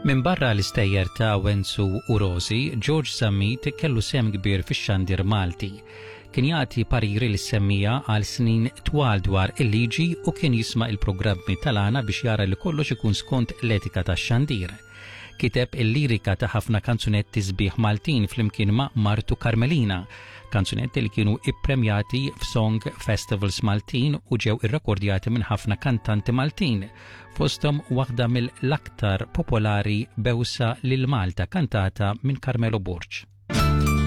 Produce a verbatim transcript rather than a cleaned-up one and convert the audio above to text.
Min barra l-istejjer ta' Wenzu u Rosi, George Zammit kellu sehem kbir fix-xandir Malti. Kien jagħti pariri lis-semmiegħa għal snin twal dwar il-liġi u kien jisma' il-programmi tal-għana biex jara li kollox ikun skont l-etika tax-xandir. Kiteb il-lirika ta' ħafna kanzunetti sbieħ Maltin flimkien ma' martu Carmelina, kanzunetti li kienu ippremjati f'Song Festivals Maltin u ġew irrekordjati minn ħafna kantanti Maltin, fosthom waħda mill-aktar popolari, "Bewsa lil Malta", kantata minn Carmelo Borg.